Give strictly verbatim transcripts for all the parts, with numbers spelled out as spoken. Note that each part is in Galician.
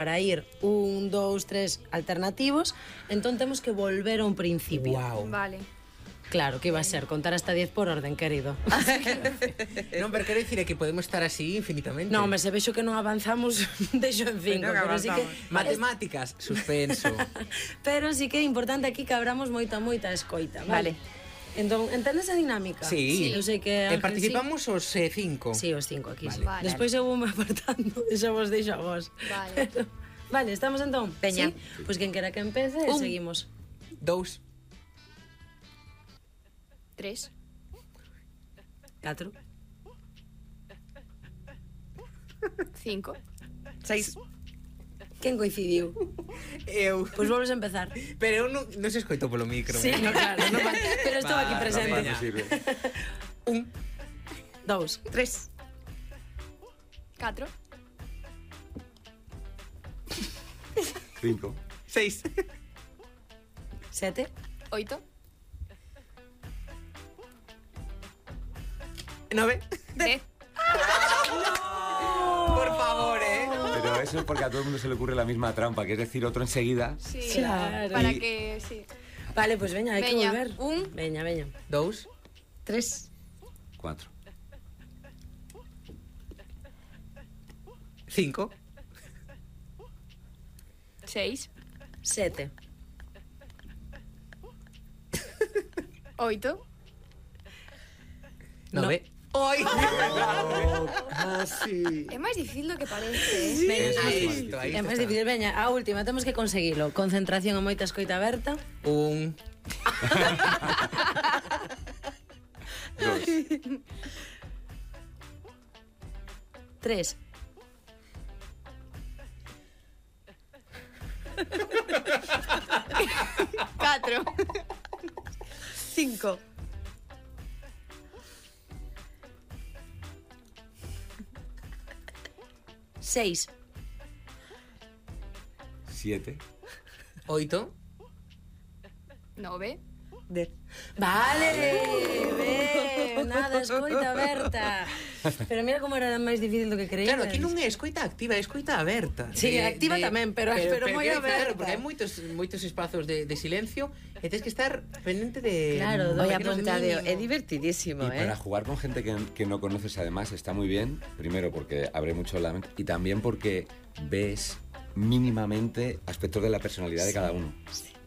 para ir un, dous, tres alternativos, entón temos que volver a un principio. Wow. Vale. Claro, que iba a ser contar hasta diez por orden, querido. Non, pero quero dicir é que podemos estar así infinitamente. Non, me se vexo que non avanzamos, deixo en cinco, Pero que pero sí que... Matemáticas, suspenso. Pero sí que é importante aquí que abramos moita, moita escoita, vale? Entón, entendes a dinámica? Sí. Eu sei que... E Ángel, participamos os eh, cinco. Sí, os cinco aquí, Vale. sí. Vale. Despois eu vou me apartando e xa vos deixo a vos. Vale. Pero, vale, estamos entón? Veña. Sí? Pois pues quen quera que empece, Un. seguimos. Dous. Tres. Catro. Cinco. Seis. Quen coincidiu? Eu. Pois pues volves a empezar. Pero eu non, non se escoito polo micro. Sí, no, claro, no, pero estou aquí Va, presente. veña. Un. Dous. Tres. Catro. Cinco. Seis. Sete. Oito. Nove. Dez. Por favor, eh. Pero eso es porque a todo el mundo se le ocurre la misma trampa, que es decir otro enseguida. Sí. Claro. Para Y- que, sí. Vale, pois pues veña, hai que Veña, volver. un. Veña, veña. Dous. Tres. Cuatro. Cinco. Seis. Sete. Oito. Nove. Oi. Casi. É máis difícil do que parece, eh? Veña, Es Ahí más está, ahí é máis está. difícil, veña, a última, temos que conseguilo. Concentración e moita escoita aberta. Un. Dos. Tres. Catro. Cinco. Seis. Siete. Oito. Nove. Dez. Vale, ben, nada, escoita aberta. Pero mira como era máis difícil do que creía. Claro, aquí non é escoita activa, é escoita aberta. Sí, activa tamén, pero- pero moi que- aberta. Claro, porque hai moitos, moitos espazos de, de silencio e tens que estar pendente de... Claro, do Voy pequeno apuntado. mínimo. Es divertidísimo, Y ¿eh? para jugar con gente que, que no conoces además está muy bien, primero porque abre mucho la mente y también porque ves mínimamente aspectos de la personalidad de cada uno,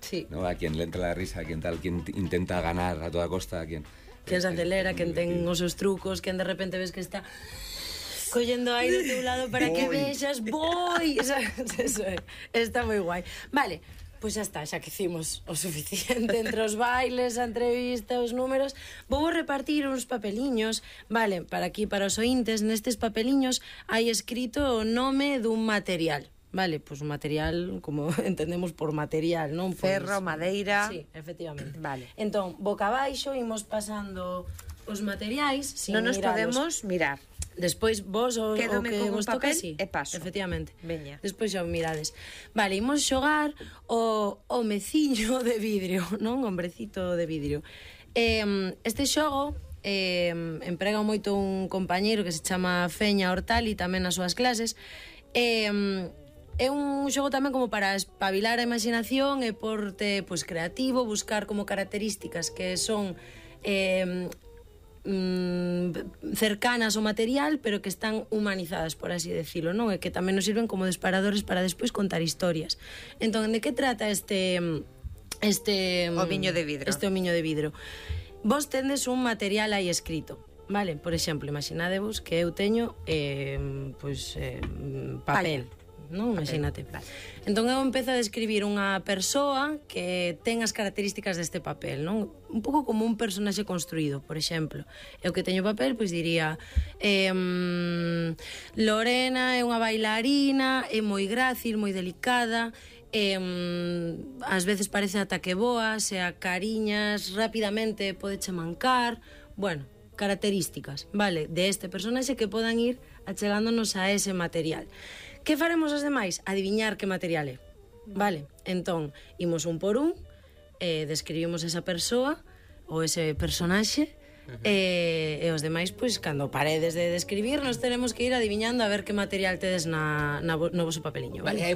Sí. ¿no? A quien le entra la risa, a quien tal, quien t- intenta ganar a toda costa, a quien... Quen se acelera, quen ten os seus trucos, quen de repente ves que está collendo aí do teu lado para que Voy. vexas, voy. Eso é, está moi guai. Vale, pois xa está, xa que hicimos o suficiente entre os bailes, a entrevista, os números. Vou repartir uns papeliños, vale, para aquí, para os ointes, nestes papeliños hai escrito o nome dun material. Vale, pois un material, como entendemos por material, non? Pois, Ferro, madeira. Sí, efectivamente. Vale. Entón, boca abaixo, imos pasando os materiais sin No nos miralos. podemos mirar. Despois vos o, o Quédome que con un vos toca, papel sí. e paso. Efectivamente. Veña. Despois xa o mirades. Vale, imos xogar o, o meciño de vidrio, non? Hombrecito de vidrio. Eh, este xogo eh, emprega moito un compañeiro que se chama Feña Hortali tamén nas súas clases. Eh, É un xogo tamén como para espabilar a imaginación e porte pois, creativo, buscar como características que son eh, mm, cercanas ao material, pero que están humanizadas, por así decirlo, non? E que tamén nos sirven como disparadores para despois contar historias. Entón, de que trata este... este Omiño de vidro. Este omiño de vidro. Vos tendes un material aí escrito. Vale, por exemplo, imaginadevos que eu teño eh, pois, eh, papel, non? Imagínate. Vale. Entón eu empezo a describir unha persoa que ten as características deste papel, non? Un pouco como un personaxe construído, por exemplo. Eu que teño papel, pois diría eh, Lorena é unha bailarina, é moi grácil, moi delicada, eh, ás veces parece ata que boa, se a cariñas rapidamente podeche mancar, bueno, características, vale, de este personaxe que podan ir achegándonos a ese material. Que faremos os demais? Adiviñar que material é. Vale, entón, imos un por un, eh, describimos esa persoa ou ese personaxe, E, e os demais, pois, cando paredes de, de escribir, nos tenemos que ir adiviñando a ver que material tedes na, na, vo- no voso papeliño, Vale, vale? hai